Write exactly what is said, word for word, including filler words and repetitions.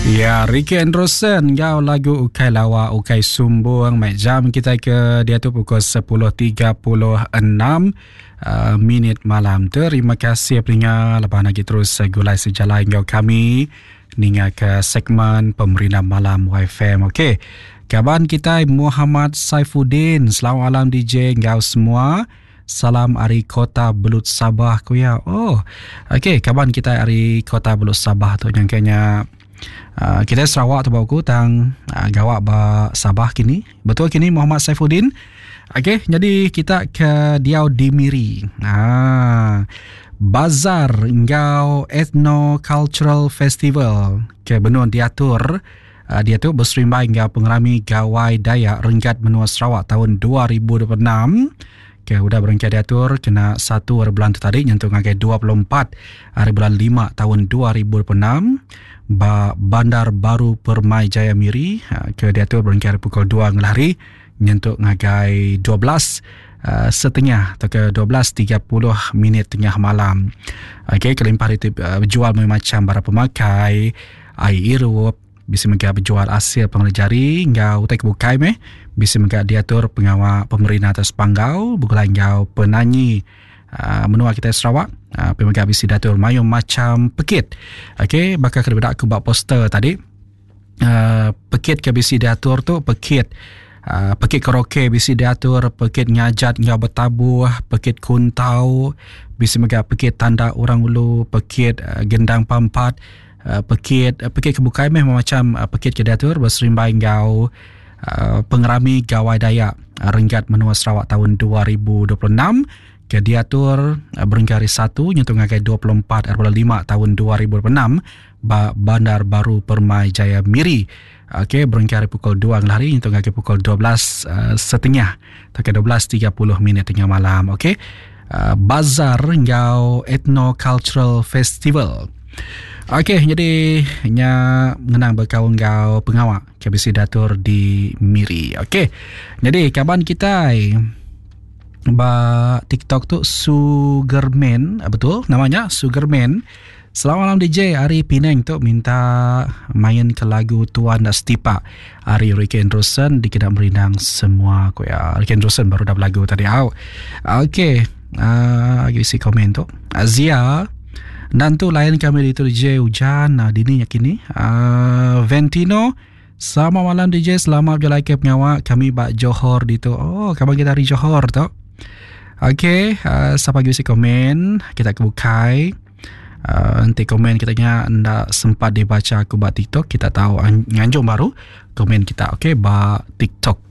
Ya, Ricky Andrewson ngau lagu Ukai Lawa Ukai Sumbung. Mai jam kita ke dia tu pukul sepuluh tiga puluh enam uh, minit malam. Terima kasih peninga lepas lagi terus gulai sejalai ngau kami ninga ke segmen Pemerintah Malam Y F M. Okey. Kaban kita Muhammad Saifuddin, selamat malam D J ngau semua. Salam ari Kota Belut Sabah ku ya. Oh. Okey, kaban kita ari Kota Belut Sabah tu yang kayaknya Uh, kita Sarawak tu bau ku tang uh, gawak ba Sabah kini. Betul kini Muhammad Saifuddin. Okey, jadi kita ke diau di Miri. Ah, Bazar Ngau Ethno Cultural Festival ke benun diatur uh, dia tu berserimbai ngau pengerami Gawai Dayak Renggat Menua Sarawak tahun dua ribu dua puluh enam. Ke udah berengkai diatur kena satu hari bulan tu tadi nyentuh ngagai dua puluh empat hari bulan lima tahun dua ribu dua puluh enam ba Bandar Baru Permai Jaya Miri. Ke diatur berengkai pukul dua ngelari nyentuh ngagai dua belas uh, setengah atau ke dua belas tiga puluh minit tengah malam. Okey, kelimpah itu uh, berjual macam barang pemakai, air irup, bisa mega berjual hasil pengelajari ngau utai kebukai meh, bisa mega diatur pengawal pemerintah atas panggau begulai ngau penanyi uh, menua kita Sarawak. Uh, pemega bisi diatur mayung macam pekit. Okey, bakal kena bedak aku buat poster tadi. Uh, pekit ke bisi diatur tu pekit uh, pekit karaoke bisi diatur, pekit ngajat ngau bertabuh, pekit kuntau, bisi mega pekit tanda orang ulu, pekit uh, gendang pampat, uh, pekit uh, pekit kebukai meh macam uh, pekit ke diatur berserimbai ngau uh, pengerami Gawai Dayak uh, Renggat Menua Sarawak tahun dua ribu dua puluh enam ke diatur uh, berengkai hari satu nyentuh ngagai dua puluh empat hari bulan lima tahun dua ribu dua puluh enam ba Bandar Baru Permai Jaya Miri. Okey, berengkai hari pukul dua ngelari nyentuh ngagai pukul dua belas uh, setengah atau ke dua belas tiga puluh minit tengah malam. Okey. Uh, Bazar Ngau Ethno Cultural Festival. Okey, jadi nya mengenang berkawan ngau pengawak K B C diatur di Miri. Okey. Jadi kawan kita ba TikTok tu Sugarman, betul namanya Sugarman. Selamat malam D J, Ari Pinang tu minta main ke lagu Tuan Dak Setipak Ari Ricky Andrewson di Kedak Merindang semua ku ya. Ricky Andrewson baru dah berlagu tadi. Au. Okey, uh, isi komen tu. Azia dan tu lain kami di tu D J hujan uh, dini ya kini. Uh, Ventino, selamat malam D J, selamat berjalan ke pengawak kami bak Johor di tu. Oh, kabar kita dari Johor tu. Okey, uh, siapa lagi isi komen, kita kebukai. Uh, nanti komen kita nya ndak sempat dibaca aku bak TikTok, kita tahu nganjung baru komen kita. Okey, bak TikTok.